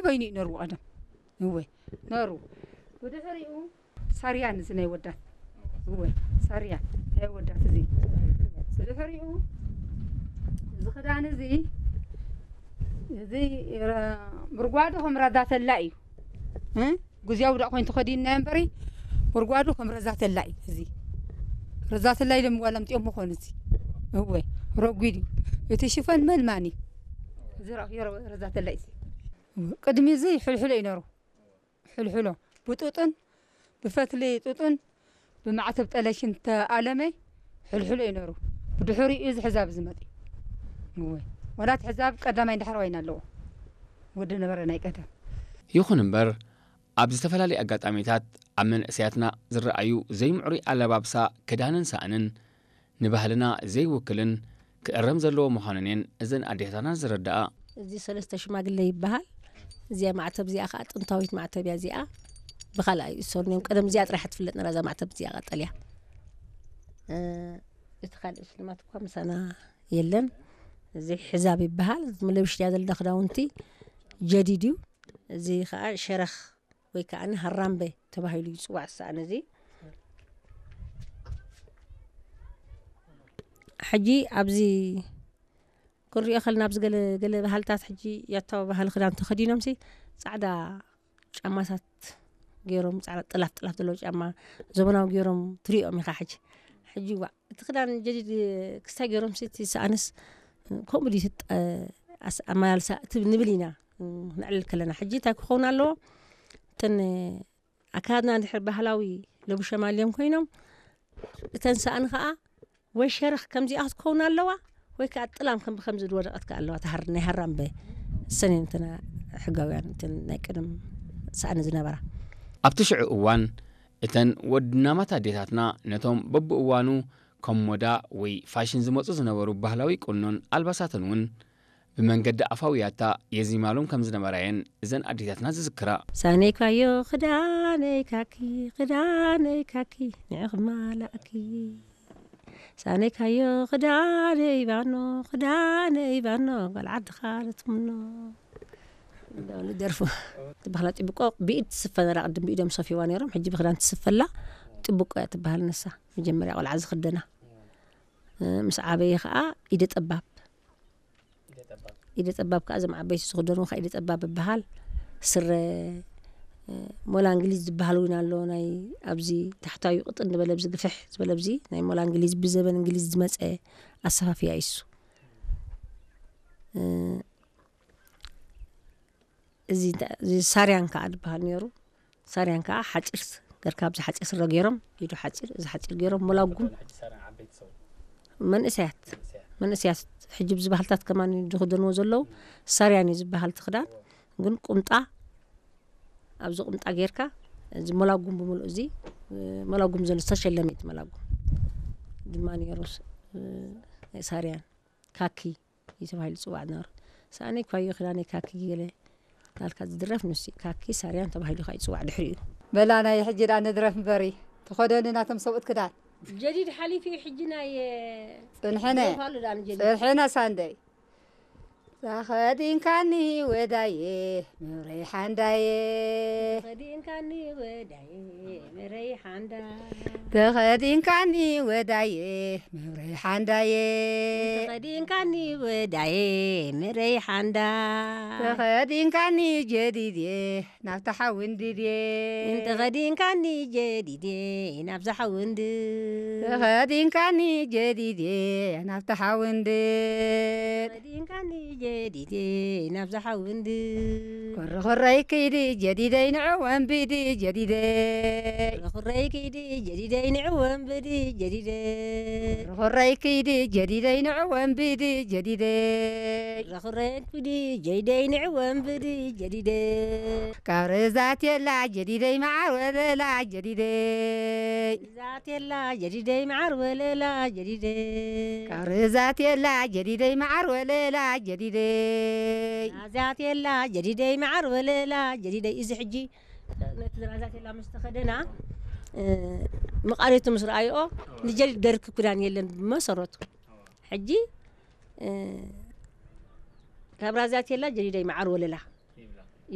ኮይኑ እዩ ነሩ ቀደም። እወ፣ ነሩ። ብድሕሪኡ ሳርያን እዚ ናይ ወዳት። እወ፣ ሳርያን ናይ ወዳት እዚ። ብድሕሪኡ እዚ ክዳን እዚ፣ እዚ ረ-፣ ምርጓዱ ከም ረዛተላ እዩ። እ? ጉዝያዊ ዳእ ኮይኑ ተኸዲንና እምበሪ፣ ምርጓዱ ከም ረዛተላ እዩ። እዚ ረዛተላ ኢሎም ዋላ ኣምጺኦም መኾኑ እዚ። እወ፣ ረጒድ እዩ። እቲ ሽፈን መልማኒ። እዚ ረእዮ ረዛተላ እዩ። ቅድሚ እዚ ሕልሕሎ እዩ ነሩ። ሕልሕሎ ብጡጥን ብፈትሊ ጡጥን ብማዕተብ ጠለሽን ተኣለመ። ሕልሕሎ እዩ ነሩ። ብድሕሪኡ እዚ ሕዛብ እዚ መጺኡ። እወ። ወላት ሕዛብ ቀዳማይ ዳሕረዋይን ኣለዎ። ወዲ ነበረ ናይ ቀደም። ይኹን እምበር፣ ኣብ ዝተፈላለዩ ኣጋጣሚታት ኣብ መንእሰያትና ዝረኣዩ ዘይምዕሩይ ኣለባብሳ፣ ክዳንን ሳእንን ንባህልና ዘይውክልን ክእረም ዘለዎ ምዃኑን እየን እዘን ኣዴታትና ዝረድኣ። እዚ ሰለስተ ሽማግለ ይበሃል። እዚኣ ማዕተብ እዚኣ ከዓ ጥንታዊት ማዕተብ እያ። እዚኣ ብኻልኣይ ይእሰሩን እዮም። ቀደም እዚኣ ጥራሕ ትፍለጥ ነራ፣ እዛ ማዕተብ እዚኣ ቀጠልያ። እ፣ እቲ ካልእ ሽልማት እኳ ምሳና የለን። እዚ ሕዛብ ይበሃል። እዚ ለብሽያ ዘለና ክዳውንቲ ጀዲድ እዩ። እዚ ከዓ ሸረኽ ወይ ከዓ ሃራምበ ተባሂሉ ይፅዋዕ ዝሰኣን እዚ። ሕጂ ኣብዚ ክንሪኦ ከለና ኣብዚ ገለ፣ ገለ ባህልታት ሕጂ ያታዊ ባህሊ ክዳን ተኸዲኖምሲ ጻዕዳ ጫማታት ገይሮም፣ ጻዕዳ ጥላፍ ጥላፍ ዘለዎ ጫማ ዘበናዊ ገይሮም ትሪኦም ኢኻ ሕጂ። ሕጂ ዋእ፣ እቲ ክዳን ጀዲድ ክስታይ ገይሮምሲ እቲ ሰኣንስ ከምኡ ድዩ እቲ ጠ-፣ ኣስ-፣ ኣመላልሳ እቲ ንብል ኢና፣ እ፣ ክነዕልል ከለና። ሕጂ እንታይ ክኸውን ኣለዎ? እተን ኣካላትና እንድሕር ባህላዊ ለቡሸ ማልዮም ኮይኖም፣ እተን ሰኣን ኸኣ ወይ ሸረኽ ከምዚኣ ክትከውን ኣለዋ፣ ወይ ከኣ ጥላም ከም ብከምዚ ዝወደቐት ከኣ ኣለዋ፣ ተሃር-፣ ናይ ሃራምበ። እሰን እየን እተን ሕጋውያን፣ እተን ናይ ቀደም ሰኣን ዝነበራ። ኣብቲ ሽዑ እዋን፣ እተን ወድናማት ኣዴታትና ነቶም በብእዋኑ ከም ሞዳ ወይ ፋሽን ዝመጹ ዝነበሩ ባህላዊ ቁኖን ኣልባሳትን እውን ብመንገዲ ኣፋውያታ የዚማሎም ከም ዝነበራ እየን እዘን ኣዴታትና ዝዝክራ። ሳነይካዮ ክዳነይ ካኪ፣ ክዳነይ ካኪ፣ ንዕኺ ማላእኪ። ሳነይካዮ ክዳነይ ባኖ፣ ክዳነይ ባኖ፣ ጓል ዓድኻ ልትምኖ። እንዳበሉ ደርፉ። ትበሃላ ጥብቆ ብኢድ ትስፈ ነራ፣ ቅድም ብኢዶም ሰፊዋ ነይሮም፣ ሕጂ ብክዳን ትስፈላ። ጥብቆ እያ ትበሃል ንሳ። መጀመርያ ቆልዓ ዝኽደና። እ፣ ምስ ዓበየ ኸኣ ኢደ ጠባብ። ኢደ ጠባብ ከኣ እዞም ዓበይቲ ዝኽደንዎ ከኣ ኢደ ጠባብ ይበሃል። ስረ፣ እ፣ ሞላ እንግሊዝ ዝበሃል እውን ኣሎ። ናይ ኣብዚ ታሕታዊ ቅጥን ዝበለ፣ ኣብዚ ግፍሕ ዝበለ፣ ኣብዚ ናይ ሞላ እንግሊዝ፣ ብዘበን እንግሊዝ ዝመጸ ኣሰፋፍያ እዩ እሱ። እ፣ እዚ እንተ-፣ እዚ ሳርያን ከኣ ዝበሃል ነይሩ። ሳርያን ከኣ ሓጺር ስ-፣ ገርካ ኣብዚ ሓጺር ስረ ገይሮም፣ ኢዱ ሓጺር፣ እዚ ሓጺር ገይሮም፣ ሞላጉም። ዝኾነ ሕጂ ሳርያን ዓበይቲ ሰብ። መንእሰያት፣ መንእሰያት። መንእሰያት ሕጂ ብዚ ባህልታት ከማን ዝኽደንዎ ዘለዉ ሳርያን እዩ ዝበሃል እቲ ክዳን። ግን ቁምጣ፣ ኣብዚ ቁምጣ ገይርካ፣ እዚ ሞላጉም ብምሉእ እዚ፣ ሞላጉም ዘሎ ዝተሸለመ እዩ እቲ ሞላጉም። ድማ ነይሩ ስ-፣ ናይ ሳርያን ካኪ እዩ ተባሂሉ ዝጽዋዕ ዝነበረ። ሰኣነይ ኳዮ ክዳነይ ካኪ ገለ ናልካ ዝድረፍ ንሱ እዩ። ካኪ ሳርያን ተባሂሉ ከኣ ይጽዋዕ ድሕሪኡ። በላ ናይ ሕጂ ደኣ ንድረፍ እምበሪ። ተኸደኒ ናቶም ሰብኡት ክዳን። ጀዲድ ሓሊፉ እዩ ሕጂ ናይ፣ ጽንሕነ። ደርፋሉ ደኣ ንጀዲድ። ጽንሕነ ሳንደይ። ተኸዲንካኒ ወዳየ ምረይ ሓንዳየ። ተኸዲንካኒ ወዳየ ምረይ ሓንዳ። ተኸዲንካኒ ወዳየ ምረይ ሓንዳየ። ተኸዲንካኒ ወዳየ ምረይ ሓንዳ። ተኸዲንካኒ ጀዲድየ ናብታ ሓዊ እንድድየ። እንተኸዲንካኒ ጀዲድየ ናብዛ ሓዊ እንድድ። ተኸዲንካኒ ጀዲድየ ናብታ ሓዊ እንድድ። ተኸዲንካኒ ጀዲድየ ናብዛ ሓዊ እንድድ። ኮረኾረይ ክይዲ ጀዲደይ ንዕወ እንብዲ ጀዲደይ። ኮረኾረይ ክይዲ ጀዲደይ ንዕወ እንብዲ ጀዲደይ። ኮረኾረይ ክይዲ ጀዲደይ ንዕወ እንብዲ ጀዲደይ። ኮረኾረይ ክይዲ ጀዲደይ ንዕወ እንብዲ ጀዲደይ። ካብ ርዛት የላ ጀዲደይ መዓር ወለላ ጀዲደይ። ርዛት የላ ጀዲደይ መዓር ወለላ ጀዲደይ። ካብ ርዛት የላ ጀዲደይ መዓር ወለላ ጀዲደይ። ራዛት የላ ጀዲደይ መዓር ወለላ ጀዲደይ። እዚ ሕጂ ነቲ ራዛት የላ ምስ ተኸደና፣ እ፣ መቓሪቱ ምስ ረኣይኦ ንጀዲድ ደርኪ ክዳን የለን ብመሰረቱ። ሕጂ፣ እ፣ ካብ ራዛት የላ ጀዲደይ መዓር ወለላ።